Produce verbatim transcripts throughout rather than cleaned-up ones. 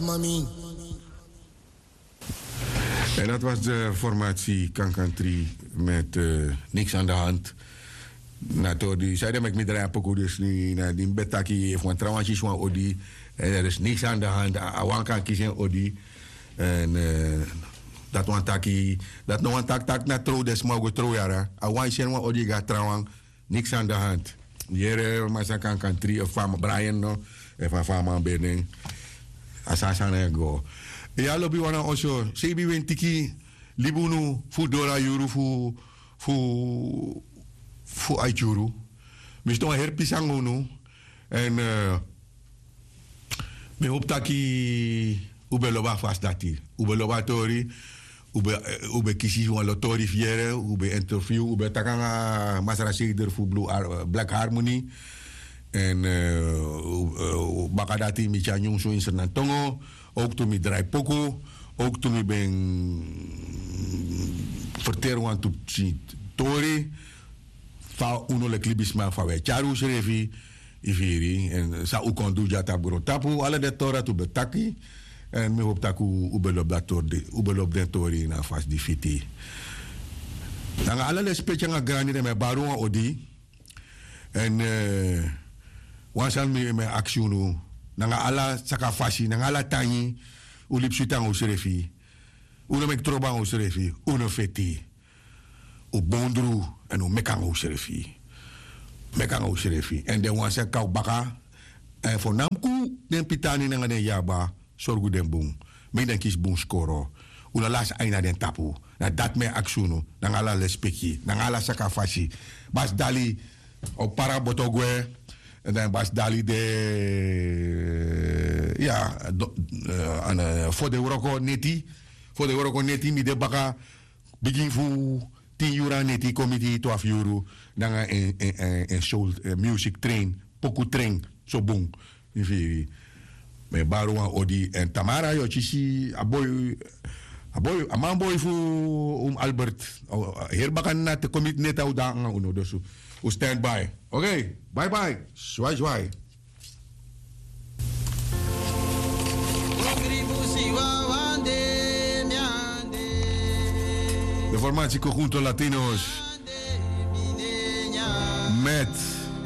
Mami. En dat was de formatie Kankan Tri met eh, Niks aan de hand. Na tori di, sai den meki mi drai a poku dus ni, na di mi ben taki efu wan trawan kisi wan odi, en er is niks aan de hand, a, a wan kan kisi en odi. En eh, dat wan taki, dat no wan taki taki na trouw den sma o go trouw yara. A wan kisi en wan odi gi a trawan, niks aan de hand. Yere, Masakan kan tri, efu a man Brian no, efu a man Benin. A sani sani e go. Ya lobi wan na oso, sebi wen tiki, libi unu fu doro a yuru fu, fu, fu a yuru. Mi sidon heri pisi nanga unu. En eh, mi hopu taki un ben lobi a fasi dati. Un ben lobi a tori. Un ben, eh, un ben kisi wan lo tori fu yere, un ben interview, un ben taki nanga masra seider fu Blue Har-, Black Harmony. En eh, un- eh, baka dati mi tyari nyunsu in Sernantongo. Ook tu mi drai poku. Ook tu mi ben ferteri wantu pikin tori. Fa unu leki libisma fa un e tyari unsrefi, yu firi, en san un kon du dya tapu grontapu, ala den tori dati un ben taki. En mi hopu tak' un ben lobi den tori, un ben lobi den tori na a fasi di fiti. Nanga ala lespeki nanga grani, dan mi e bari un wan odi. En eh, wan sani mi e aksi unu, nanga ala sakafasi, nanga ala tangi, un libi switi nanga unsrefi. Un no meki trobo nanga unsrefi, un no feti. Un bondru, en un meki nanga unsrefi. Meki nanga unsrefi. En den wan san e kon baka, en fo namku den pitani nanga den yaba, sorgu den bun. Meki den kisi bun skoro. Un no lasi ain na den tapu. Na dati mi e aksi unu, nanga ala lespeki, nanga ala sakafasi. Basi Dali, o para boto gwe. En dan Basi Dali de, ya, do- eh, an, eh, fo den wroko neti, fo den wroko neti mi de baka, bigin fu tin yuru nanga neti kon miti twafu yuru, nanga en, en, en, en soul, eh, music train, poku train, so bun. Yu firi. Mi e bari wan odi, en tamara yu o kisi a boi, a boi, a manboi fu oom Albert. O, heri baka na te kon miti neti a un de nanga unu, dus un stand by. Oké, bye bye. Zwai, zwai. De formatie Conjunto Latinos met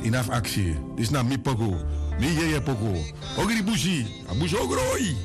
Inaf Actie. Disi na mi poku, mi yeye poku. Ogri busi, a busi ogro oi.